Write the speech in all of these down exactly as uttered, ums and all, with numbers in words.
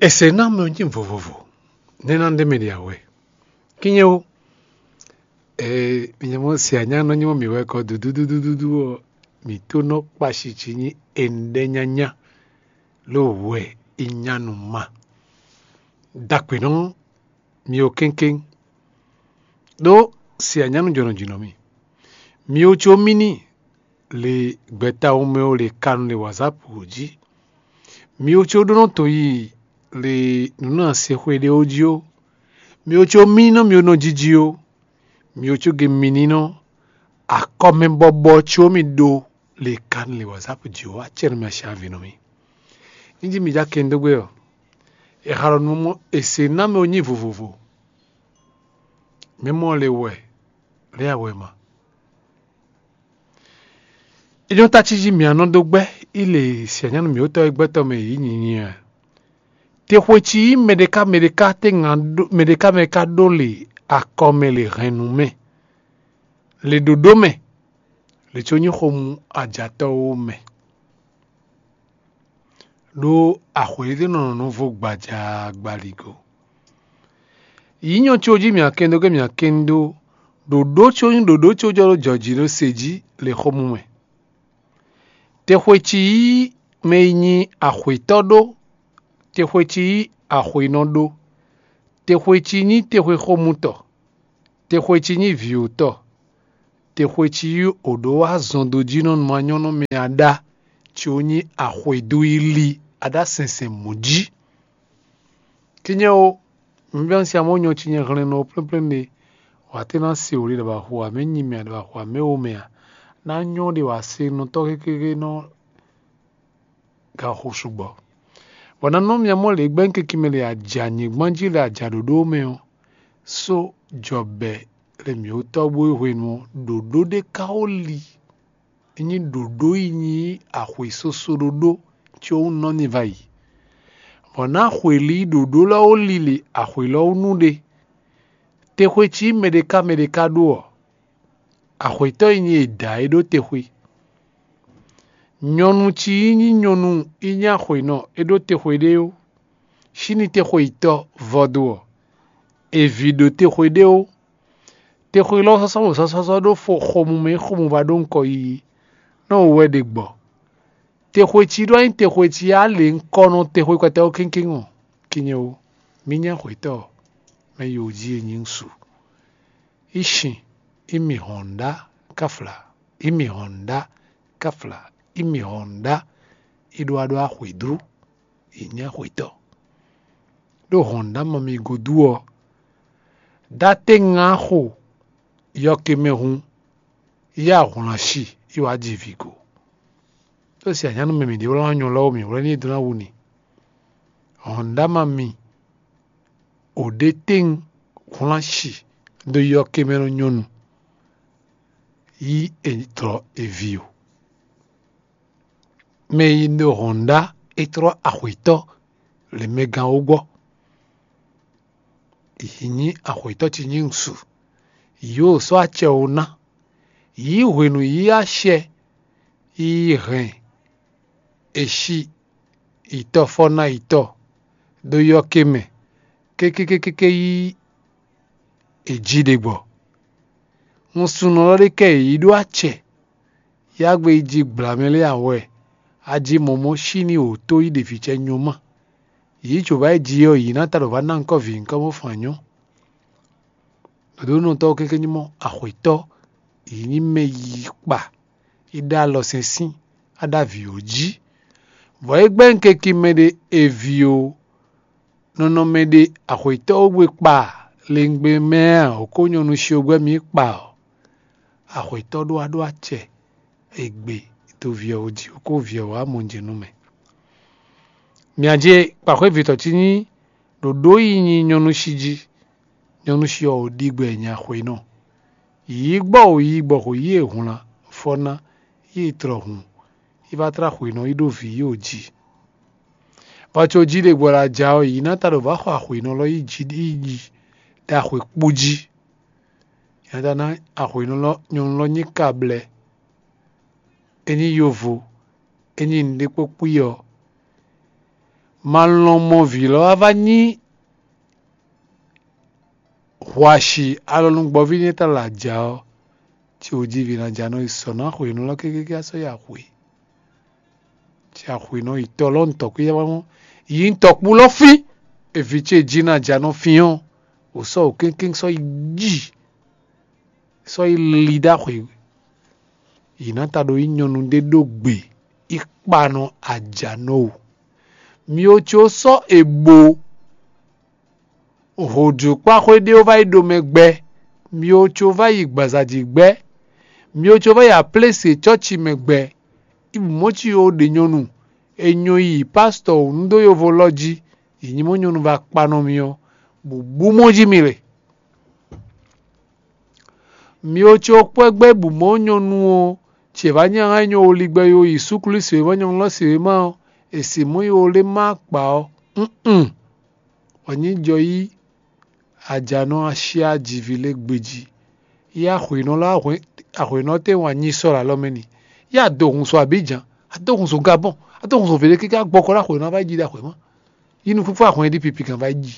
Ese ná mɛ ɔ́ nyí vovovo, nɛ́ ná ɖe mɛ ɖe awɛ. Kínnyɛ ó, ee, mi nyɛ mɔ si anyá nɔ nyí mɔ mǐ wɛ kɔ dúdúdúdúdú ɔ́, mǐ tó nɔ kpa shi ci nyí eɖɛ nyanya, ló wɛ í nya nú ma. Dagbe nɔ mi ó kéŋkéŋ, ɖó si anyá nɔ jɔnɔ jǐ nɔ mì. Mi ó có mì ní le gbɛtawun mɛ ó le kanu le wǎzápu jí. Mi ó có ɖó nɔ to yi le nǔnanse xwe ɖé ó jí ó. Mi ó có mì nɔ mi ó nɔ jiji ó. Mi ó có ge mi ní nɔ akɔmɛbɔbɔ có mi ɖó le kanu le wǎzápu jí ó. Acɛ nɔ mi asi avi nɔ mi. Ní jí mi já kɛn dó gbé ɔ́, è xa ɖɔ nú mɔ è se ná mɛ ó nyí vovovo. Mɛ mɔ le wɛ lé awɛ ma. Ényɔ́ tá cí jí mǐ nɔ dó gbɛ́ í le sianyánu mǐtɔn e gbɛtɔ́ mɛ yǐ nyinyi a? Te xwe cí yí mɛɖeká mɛɖeká téŋa mɛɖeká mɛ ka ɖó le akɔ mɛ le hɛn nú mɛ, le ɖǒɖó mɛ, le có nyí xomú ajatɔ́ ó mɛ. Ɖó axwě ɖé nɔ nɔ vo gbaja gbaligo. Yǐ nyɔ có jí mǐ akɛn dó gé mǐ akɛn dó ɖǒɖó có nyí ɖǒɖó có jɔ ɖó jɔ̌ jí ɖó se jí le xomú mɛ. Texwe cí yí mɛ e nyí axwětɔ́ ɖó, texwe cí yí axwěnɔ ɖó, texwe cí nyí texwe xomutɔ, texwe cí nyí vǐwotɔ́, texwe cí yí oɖó wá zɔn dó jí nɔ nú anyɔ́nɔ mɛ aɖá, có nyí axwědú yi li aɖá sɛnsɛn mɔ̌ jí. Kínnyɛ ó, mi bɛ́ un si amɔ̌ nyɔ cinyɛ hlɛnnɔ ɔ́ plɛ́nplɛ́n ɖe, wǎ tɛ́ ná se wǒ ɖe ɖɔ ba xo ǎ, mɛ nyi mɛ a ɖɔ ba xo ǎ, mɛ wo mɛ a, ná nyɔ́ ɖe wǎ se nɔ tɔ́ kékéké nɔ ga xo sugbɔ. Bɔ ná nɔ mia mɔ lě gbɛ́ un kiki mɛ lě aja nyǐgbán jí lě aja ɖǒɖó mɛ ɔ́, só jɔbɛ lě mǐ ó tɔ́ bó yi hwenu ɔ́, ɖǒɖó ɖé ka ó li. É nyí ɖǒɖó yi nyí axwě soso ɖóɖó có nɔ ní va yi. Bɔ ná axwě li ɖǒɖó lɔ ó lili axwě lɔ ó nú ɖe. Texwe cí mɛ ɖé ká mɛ ɖé ká ɖó ɔ́, axwětɔ́ yi nyí è dǎ é ɖó texwe. Nyɔnu cí yi nyí nyɔnu yi nyí axwěnɔ é ɖó texwe ɖé ó. Síní texwe yi tɔ́ vɔ́ dó ɔ́, è vǐ ɖó texwe ɖé ó. Texwe lɔ sɔ́sɔ́ wǒ sɔ́sɔ́ ɖó fo xomumɛ e xomuvá ɖó ŋkɔ yiyi, nɔ wú wɛ ɖe gbɔ. Texwe cí ɖó anyí texwe cí á lě ŋkɔ nɔ texwe kpɛtɛ́ ó kéŋkéŋ ɔ́, kinye ó, mì nyá xwětɔ́, mɛ yi wǒ jí e nyí ŋsu. Í sin, í mi hɔn ŋɖá káfla, í mi hɔn ŋɖá káfla, í mi hɔn ŋɖá, í ɖó wá ɖó axwě dlú, yi nyá xwětɔ́. Ɖó hɔn ná mɔ mi godu ɔ́, dá tɛ́ngan xo yɔkemɛ hun, yá hwlan si, yi wá ji vǐ go. Ɖó si anyánu mɛ mǐ ɖe wlán nyɔ lɔ́ mǐ wlɛ́ ní e dó ná wu ni. Hɔn ná ma mi ò ɖe tɛ́ngan hwlan si ɖó yɔkemɛ nɔ nyɔ́nu, yí è tlɔ è vi o. Mɛ e nɔ hɔn ɖá é tlɔ́ axwětɔ́ le mɛ gán ó gbɔ. Yǐ nyí axwětɔ́ ce nyí ŋsu. Yǒ sɔ́ acɛ ó ná. Yǐ hwenu yí acɛ yi hɛn è si yi tɔ́ fɔ́ ná yi tɔ́ ɖó yɔ́ ké mɛ kékékékéké yí è jí ɖe gbɔ. Nusúnnɔ lɔ ɖé kɛ yě yi ɖó acɛ, yá gbe yi jí gbla mɛ lɛ́ɛ awɛ, a jí mɔ̌ mɔ sí ní wǒ tó yi ɖe vǐ cɛ nyɔ́ má. Yě yi cǒ bá yi jí ɔ́, yě ná ta ɖo vǎ ná ŋkɔ́ vǐ ŋkɔ́ bó fun anyɔ́. Dǒdónɔtɔ́ ɔ́ kɛ́nkɛ́n nyí mɔ axwětɔ́, yě nyí mɛ yi kpa, yi ɖó alɔ sɛnsín, a ɖó avǐ ó jí. Vɔ̌ é gbɛ́ un kɛ́nkin mɛ ɖé è vi ó, nɔnɔmɛ ɖé axwětɔ́ ó gbe kpa lěngbé mɛ ǎ, ó kó nyɔ̌nu shi ó gbɛ́ mì kpa ɔ́, axwětɔ́ ɖó wá ɖó acɛ e gbe do vǐ ɔ́ jí, ó kó vǐ ɔ́ wá mɔ jɛ nú mɛ. Mia jɛ kpaxwé vǐtɔ́ cí nyí ɖǒɖó yi nyi nyɔ̌nu shi jí, nyɔ̌nu shi ɔ́ ɖi gbɛ nya xwé nɔ. Yǐ gbɔ wǒ yí gbɔ xo yí e hwlan fɔ ná yí e tlɔ hun, yi va tlá xwé nɔ yi ɖó vǐ yi o jí. Vɔ có jí ɖe gbɔ ɖo aja ɔ́, yǐ ná ta ɖo vǎ xɔ axwě nɔ lɔ yi jí yi ɖi ɖo axwě kpú jí. Yě ná ta ná axwě nɔ lɔ nyɔ̌nu lɔ nyí kablɛ́, é nyí yovo, é nyí nǔɖé kpó kpí ɔ́, Ma lɔn mɔ vǐ lɔ wá vá nyí hwashi alɔnugbɔví nɛ́ ta lɛ aja ɔ́, ce wǒ jí vǐ ná ja nɔ yi sɔ nú axwě nú lɔ kékéké sɔ́ yi axwě. Ci axwě nɔ yi tɔ lɔ ntɔ̌ kpé yá mɔ yi ntɔkpú lɔ fín. Evi ce jí ná ja nɔ fín ɔ́, wǒ sɔ́ wǒ kéŋkéŋ sɔ́ yi jí sɔ́ yi li ɖó axwě. Yi ná ta ɖo yi nyɔnu ɖé ɖó gbe yi kpa nɔ aja nɔ o. Myo có sɔ́ è bo hǒdukpáxwé ɖé ó vá yi ɖo mɛ gbɛ. Myo có vá yi gbǎzaji gbɛ. Myo có vá yi aplése cɔ́ci mɛ gbɛ. Ibumɔ́ci ó ɖe nyɔnu è nyɔ yi pásítɔ wǔ nú dó yovo lɔ jí. Yi nyí mɔ nyɔnu vá kpa nɔ mì ɔ́, bǔbú mɔ jí mi le. Myo có kpɔ́ gbɛ́ bǔ mɔ nyɔnu ɔ́, ce vǎ nyí ahán nyɔ woligbɛ yo yi súklú se wěma nyɔ̌nu lɔ se wěma ɔ́, è si mɔ̌ yi wo lé má akpa ɔ́. Nn wǎ nyí jɔ yí ajanɔ asyá jiví lé gbejí. Yí axwěnɔ lɔ axwěnɔ tɛ́ wǎn nyi sɔ́ ɖo alɔ mɛ n'i. Yí ado hun so Abidjan, ado hun so Gabɔn, ado hun so vě ɖé kíká gbɔkɔ ɖó axwěnɔ vá yi jí ɖo axwěma. Yí nukúnfún axwɛn ɖi pipi gán vá yi jí.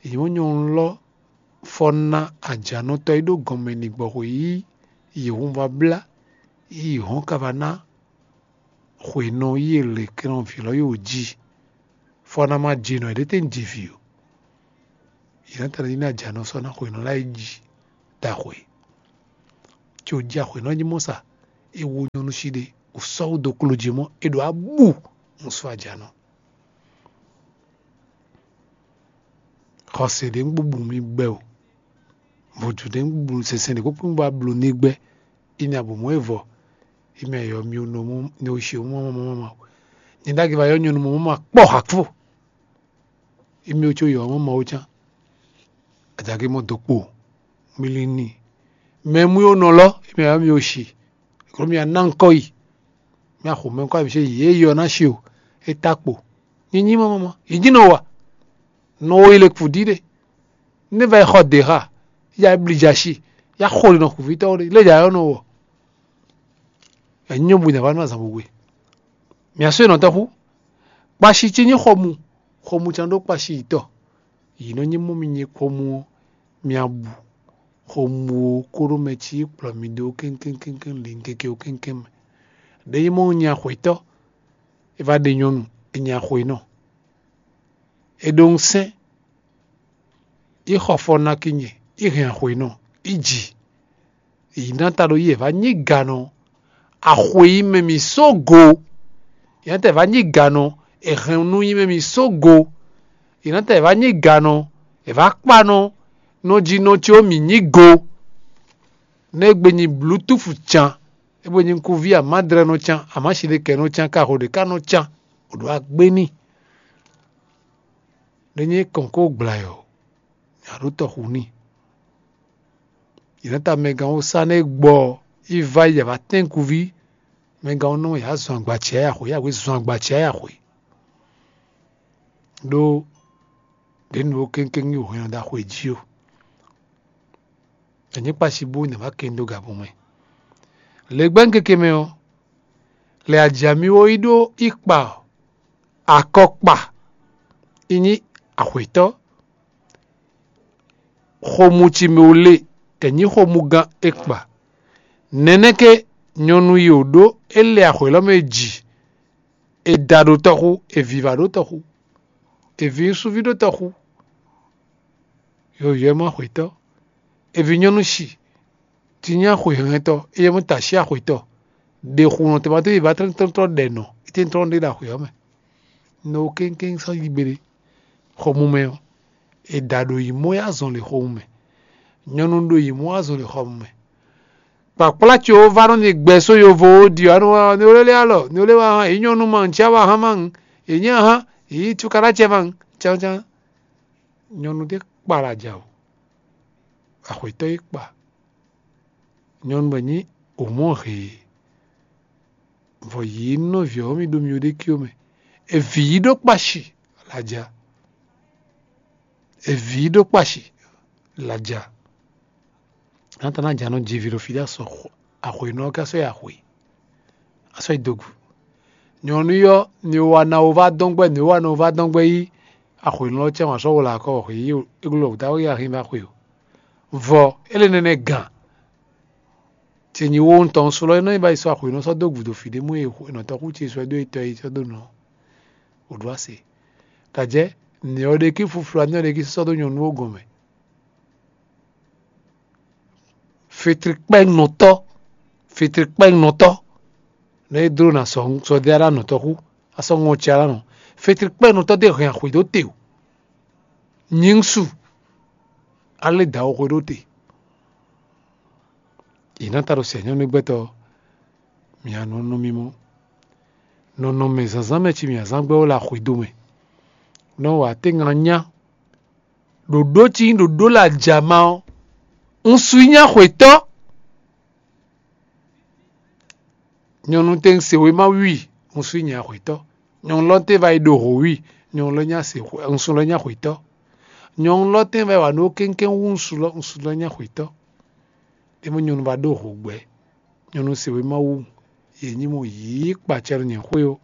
Yě mɔ nyɔnu lɔ fɔ ná ajǎnɔtɔ́ e ɖó gɔnmɛ ní gbɔ xwe yí yě hun vá blá yí hɔn ka va ná xwe nɔ yí e lě kɛn ɔ́ vǐ lɔ yí wǒ jí. Fɔ ná ma jɛ nɔ yě ɖé tɛ́ jɛ vǐ o. Yě ná tɛ́ ná ajǎnɔ sɔ́ ná xwe nɔ lá yi jí da xwe. Có jí axwe nɔ jí mɔ sa é wó nyɔnu sí ɖé wǒ sɔ́ wó dó kló jí mɔ é ɖo abú. Ŋu sɔ́ ajǎnɔ. Xɔse ɖé ŋu bú mi gbɛ o. Vodún ɖé ŋu bú sɛnsɛn ɖé kpókpó ŋu bá bló ní gbɛ. Ini abǒ mɔ evɔ. Imi ayɔ mi nɔ mɔ ne o si mɔ mɔ mɔ. Nyɛ ɖagbe va yɔ nyɔnu mɔ mɔ ma kpɔ hakpo. Imi o tso yɔ mɔ ma o can. Adzage mɔ dokpo. Mi li ni. Mɛ mu yo nɔ lɔ imi ayɔ mi o si. Klo mi ana ŋkɔ yi. Mi axo mɛ ŋkɔ mi se yi e yɔ na si o. E ta kpo. Nyinyi mɔ mɔ mɔ. Yi dzi nɔ wa. Nɔ wo yi le kpu ɖi ɖe. Ne va yi xɔ ɖe xa, ya bli dza si, ya xo ɖe nɔ xuvítɔ́ ɖe lé dza yɔ nɔ wɔ. Enyɔ bu nyava nɔ azan bugbe. Mia sɔ́ nɔ tɔ́xu. Kpashi ce nyí xɔmu, xɔmu can ɖó kpashi yitɔ. Yi nɔ nyí mɔ mi nyí xɔmu ɔ́, mia bu xɔmu ɔ́ kóɖó mɛ ci kplɔ mi ɖó kéŋkéŋkéŋkéŋ li keke ɔ́ kéŋkéŋ mɛ. Ɖe nyí mɔ nyi axwetɔ, é va ɖe nyɔnu, é nyi axwenɔ. È ɖo ŋusɛ́n, yi xɔ fɔ ná kí nyɛ, yi hɛn axwe nɔ, yi ji. Yi ná ta ɖo yi è vǎ nyí ganɔ, axwe yi mɛ mì só go. Yi ná ta è vǎ nyí ganɔ, è hɛn nú yi mɛ mì só go. Yi ná ta è vǎ nyí ganɔ, è vǎ kpa nɔ, nɔ jí nɔ có mì nyí go. Nɛ́ gbe nyi blutúfu can, é gbe nyi nukúnví amádrɛ́ nɔ can, amásiɖekɛ nɔ can, kaxo ɖě ká nɔ can, wǒ ɖo agbé n'i. Ɖé nyí kɔn kó gbla yɔ, nya ɖó tɔxu n'i. Yě nɔ ta mɛgán wú sá nɛ́ gbɔ yi va yi yǎ tɛ́nkuví, mɛgán wú nɔ yǎ zɔn agbaci ayá xwe, yǎ xwe zɔn agbaci ayá xwe. Ɖó ɖě nu ó kéŋkéŋ yi hwɛn ɔ́ ɖo axwe jí ó. È nyǐ kpashi bú nɛ wá kɛn dó gabun mɛ. Lě gbɛ́ keke mɛ ɔ́, lɛ ajǎmíwo yi ɖó yi kpa akɔkpa yi nyí axwětɔ́. Xomú ci mɛ wú lé, è nyǐ xomúgán é kpa. Nɛnɛ́ ké nyɔnu yi wǒ ɖó é lɛ axwě lɔ mɛ ji, è da ɖó tɔxu, è viva ɖó tɔxu, è vi ŋsuvi ɖó tɔxu. Yɔyɔ̌ mɔ axwětɔ́, è vi nyɔ́nu shi, ti nyí axwěhɛntɔ́, éyɛ́ mɔ tashi axwětɔ́. Ɖe xu nɔ tɛnmɛ tó yi ba tlɔ́ntlɔ́n ɖɛ nɔ, é tɛ́n tlɔ́n ɖé ɖo axwě ɔ́ mɛ. Nɔ kéŋkéŋ sɔ́ yi gbeɖé. Xɔmumɛ ɔ́, è ɖa ɖo yi mɔ yi azɔn le xɔmumɛ. Nyɔnu ɖo yi mɔ azɔn le xɔmumɛ. Kpakplá ce wó va nɔ ni gbɛ só yovo wó ɖi ɔ́, anu wa ni wlé lé alɔ, ni wlé wa hán, yi nyɔnu ma ŋu, cia wa hán ma ŋu, yi nyí ahán, yi cukaɖá ce ma ŋu, cán cán. Nyɔnu ɖé kpa ɖo aja o. Axwětɔ́ yi kpa. Nyɔnu bɔ nyí òmɔ́ hee, vɔ yě nɔví ɔ́ mi ɖo myo ɖé kí ó mɛ. Evi yi ɖó kpashi laja. Evi yi ɖó kpashi laja. Nátana ja nɔ ji vi ɖo fi ɖé asɔ axwě nɔ ɔ́ ká sɔ́ yi axwě. Asɔ́ yi dogu. Nyɔ̌nu ɔ́, ni wa ná wó vá dɔn gbɛ́, ni wa ná wó vá dɔn gbɛ́ yí axwěnɔ ɔ́ cɛ wǎn sɔ́ wó lɛ akɔ wɔ xwě yí o, é glɔ́ wǔtá wɛ axi ba xwe o. Vɔ é lě nɛnɛ gǎn. Ce nyi wo ŋutɔn sú lɔ é nɔ yi ba yi sɔ́ axwěnɔ sɔ́ dó gǔdo fǐ ɖé mú e nɔ tɔ́ xú ce sɔ́ dó etɔ́ yi sɔ́ dó nɔ. Wǒ ɖó ase. Ɖajɛ nǐ ɔ́ ɖe kí fuflu anyɔ ɖe kí sɔ́ dó nyɔ̌nu ó gɔn mɛ. Fetrikpɛ́nɔtɔ́, fetrikpɛ́nɔtɔ́, nɔ é dló ná sɔ́ sɔ́ dé alá nɔ tɔ́ xú, a sɔ́ ŋɔ ce alá nɔ. Fetrikpɛ́nɔtɔ́ ɖé hɛn axwě dó te o. Nyǐŋsu, alé dǎ xwe ɖó te. Yě ná ta ɖo sɛ nyɔ́nu gbɛtɔ́, mǐ nɔ nɔ mì mɔ. Nɔnɔmɛ zǎnzǎn mɛ cí mǐ azán gbɛ́ wó le axwědo mɛ. Nɔ wǎ tɛ́ngan nyá. Ɖǒɖó cí nyí ɖǒɖó le ajama ɔ́, un su nyí axwětɔ́. Nyɔ̌nu tɛ́ un se wěma wí, un sú nyɛ axwětɔ́. Nyɔ̌nu lɔ tɛ́ va yi ɖo hǒ wí, nyɔ̌nu lɔ nyá se un sú lɔ nyá axwětɔ́. Nyɔ̌nu lɔ tɛ́ va yi wa nǔ kéŋkéŋ wú un sú lɔ un sú lɔ nyá axwětɔ́. É mɔ nyɔ̌nu va ɖó hǒ gbɛ́, nyɔ̌nu se wěma wú, yě nyí mɔ yǐ kpacɛ ɖo nyɛ xwé ó.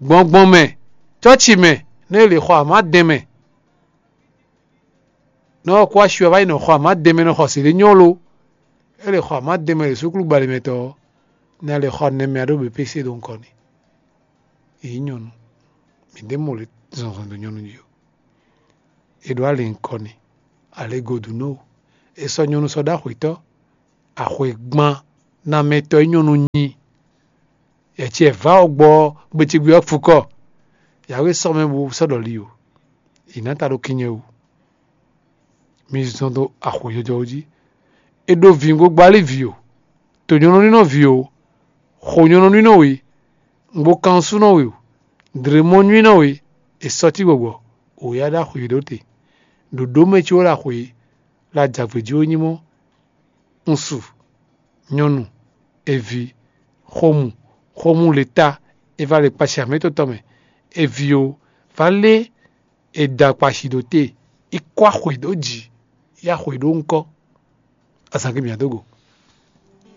Gbɔngbɔn mɛ, cɔ́ci mɛ, nɛ́ è lě xɔ amǎdɛn mɛ. Nɔ ɔ́ kó asi wɛ wá yi nɔ xɔ amǎ dɛnmɛ nɔ xɔ sǐ ɖé nyɔ́ lo. É lě xɔ amǎ dɛnmɛ ɖo súkúlu gbalěmɛtɔ́ ɔ́, nɛ a lě xɔ nɛmɛ a ɖó bepése ɖo ŋkɔ n'i. Yě nyí nyɔ̌nu, mǐ ɖě mɔ lě zɔnzɔn dó nyɔ̌nu jí ó. È ɖǒ alě ŋkɔ n'i, alě godu nɔ ó. È sɔ́ nyɔ̌nu sɔ́ ɖó axwětɔ́, axwěgban namɛtɔ́ e nyɔ́nu nyi. Yɛ ce vǎ ɔ́ gbɔ ɔ́, gbecégbé ɔ́ fukɔ. Yǎwe sɔ́ mɛ bó sɔ́ ɖɔ li o. È nǎ ta ɖó kinnyɛ wú. Mi zɔn dó axwě jɔjɔ jí. È ɖo vǐ gbogbo alí vǐ o. To nyɔ̌nu nínɔ vǐ o. Xo nyɔ̌nu nínɔ we. Ŋgbo kan súnɔ we o. Dlěmɔ nywínɔ we. È sɔ́ cí gbɔgbɔ. Wǒ yá ɖó axwě ɖó te. Ɖǒɖó mɛ ce wó ɖo axwě. La jǎgbé jí wó nyí mɔ́. Ŋsu, nyɔnu, evi, xomu, xomu le ta, e va le kpashi amɛtɔtɔ mɛ, evi o, va lé e da kpashi ɖo te, yi kɔ axwe ɖó jǐ, yi axwe ɖó ŋkɔ. Azǎn gbe mǐa dó go.